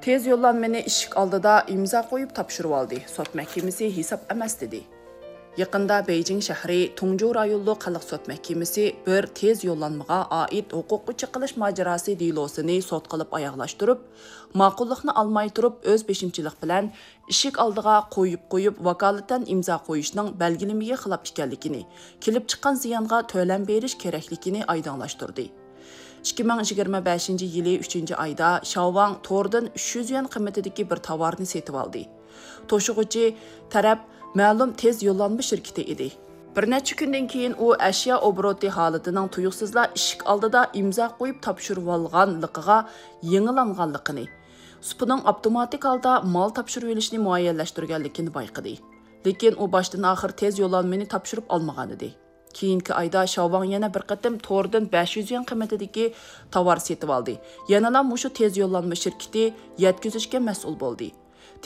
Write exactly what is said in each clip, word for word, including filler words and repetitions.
تېز يوللانمىنى ئىشىك ئالدىدا ئىمزا قويۇپ تاپشۇرۇۋالدى. سوت مەھكىمىسى ھېساب ئەمەس دېدى. يېقىندا بېيجىڭ شەھىرى تۇڭجۇ رايونلۇق خەلق سوت مەھكىمىسى بىر تېز يوللانمىغا ئائىت ھوقۇققا چېقىلىش ماجىراسى دېلوسىنى سوت قىلىپ ئاياغلاشتۇرۇپ، ماقۇللۇقنى ئالماي تۇرۇپ، ئۆز بېشىمچىلىق بىلەن ئىشىك ئالدىغا قويۇپ قويۇپ، ۋاكالىتەن ئىمزا قويۇشنىڭ بەلگىلىمىگە خىلاپ ئىكەنلىكىنى، كېلىپ چىققان زىيانغا تۆلەم بېرىش كېرەكلىكىنى ئايدىڭلاشتۇردى. ئىككى مىڭ يىگىرمە بەشىنچى يىلى ئۈچىنچى ئايدا شاۋاڭ توردىن ئۈچ يۈز يۈەن قىممىتىدىكى بىر تاۋارنى سېتىۋالدى. توشۇغۇچى تەرەپ مەلۇم تېز يوللانما شىركىتى ئىدى. بىر نەچچە كۈندىن كېيىن ئۇ ئەشيا ئوبوروتى ھالىتىنىڭ تۇيۇقسىزلا ئىشىك ئالدىدا ئىمزا قويۇپ تاپشۇرۇۋالغانلىقىغا يېڭىلانغانلىقىنى، سۇپىنىڭ ئاپتوماتىك ھالدا مال تاپشۇرۇۋېلىشنى مۇئەييەنلەشتۈرگەنلىكىنى بايقىدى. لېكىن ئۇ باشتىن ئاخىر تېز يوللانمىنى تاپشۇرۇپ ئالمىغانىدى. كېيىنكى ئايدا شاۋاڭ يەنە بىر قېتىم توردىن بەش يۈز يۈەن قىممىتىدىكى تاۋار سېتىۋالدى. يەنىلا مۇشۇ تېز يوللانما شىركىتى يەتكۈزۈشكە مەسئۇل بولدى.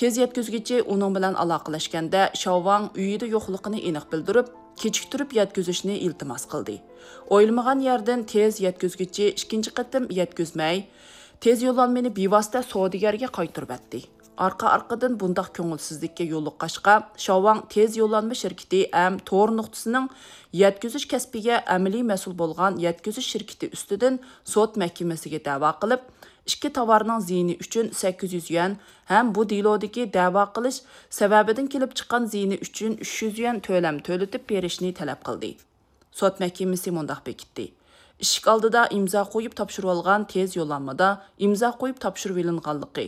تېز يەتكۈزگۈچى ئۇنىڭ بىلەن ئالاقىلەشكەندە، شاۋاڭ ئۆيىدە يوقلۇقىنى ئېنىق بىلدۈرۈپ، كېچىكتۈرۈپ يەتكۈزۈشنى ئىلتىماس قىلدى. ئويلىمىغان يەردىن تېز يەتكۈزگۈچى ئىككىنچى قېتىم يەتكۈزمەي، تېز يوللانمىنى بىۋاسىتە سودىگەرگە قايتۇرۇۋەتتى. ئارقا-ئارقىدىن بۇنداق كۆڭۈلسىزلىككە يولۇققاچقا، شاۋاڭ تېز يوللانما شىركىتى ھەم تور نۇقتىسىنىڭ يەتكۈزۈش كەسپىگە ئەمەلىي مەسئۇل بولغان يەتكۈزۈش شىركىتى ئۈستىدىن سوت مەھكىمىسىگە دەۋا قىلىپ، ئىككى تاۋارنىڭ زىيىنى ئۈچۈن سەككىز يۈز يۈەن ھەم بۇ دېلودىكى دەۋا قىلىش سەۋەبىدىن كېلىپ چىققان زىيىنى ئۈچۈن ئۈچ يۈز يۈەن تۆلەم تۆلىتىپ بېرىشنى تەلەپ قىلدى. سوت مەھكىمىسى مۇنداق بېكىتتى: ئىشىك ئالدىدا ئىمزا قويۇپ تاپشۇرۇۋالغان تېز يوللانمىدا ئىمزا قويۇپ تاپشۇرۇۋېلىنغانلىقى،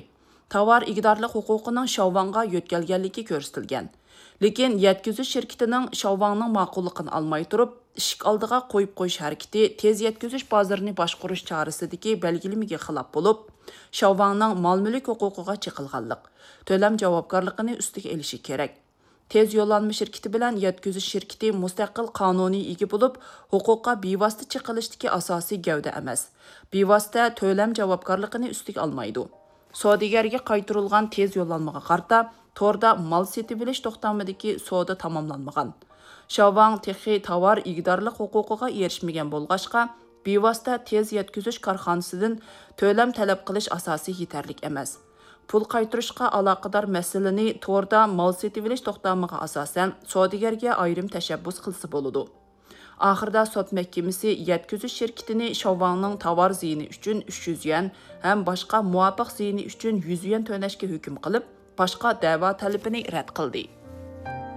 تاۋار ئىگىدارلىق ھوقۇقىنىڭ شاۋاڭغا يۆتكەلگەنلىكى كۆرسىتىلگەن. لېكىن يەتكۈزۈش شىركىتىنىڭ شاۋاڭنىڭ ماقۇللۇقىنى ئالماي تۇرۇپ، ئىشىك ئالدىغا قويۇپ قويۇش ھەرىكىتى تېز يەتكۈزۈش بازىرىنى باشقۇرۇش چارىسىدىكى بەلگىلىمىگە خىلاپ بولۇپ، شاۋاڭنىڭ مال-مۈلۈك ھوقۇقىغا چېقىلغانلىق، تۆلەم جاۋابكارلىقىنى ئۈستىگە ئېلىشى كېرەك. تېز يوللانما شىركىتى بىلەن يەتكۈزۈش شىركىتى مۇستەقىل قانۇنىي ئىگە بولۇپ، ھوقۇققا بىۋاسىتە چېقىلىشتىكى ئاساسىي گەۋدە ئەمەس. بىۋاسىتە تۆلەم جاۋابكارلىقىنى ئۈستىگە ئالمايدۇ. سودىگەرگە قايتۇرۇلغان تېز يوللانمىغا قارىتا، توردا مال سېتىۋېلىش توختامىدىكى سودا تاماملانمىغان. شاۋاڭ تېخى تاۋار ئىگىدارلىق ھوقۇقىغا ئېرىشمىگەن بولغاچقا، بىۋاسىتە تېز يەتكۈزۈش كارخانىسىدىن تۆلەم تەلەپ قىلىش ئاساسى يېتەرلىك ئەمەس. پۇل قايتۇرۇشقا ئالاقىدار مەسىلىنى توردا مال سېتىۋېلىش توختامىغا ئاساسەن سودىگەرگە ئايرىم تەشەببۇس قىلسا بولىدۇ. ئاخىرىدا سوت مەھكىمىسى يەتكۈزۈش شىركىتىنى شاۋاڭنىڭ تاۋار زىيىنى ئۈچۈن ئۈچ يۈز يۈەن ھەم باشقا مۇۋاپىق زىيىنى ئۈچۈن يۈز يۈەن تۆلەشكە ھۆكۈم قىلىپ، باشقا دەۋا تەلىپىنى رەت قىلدى.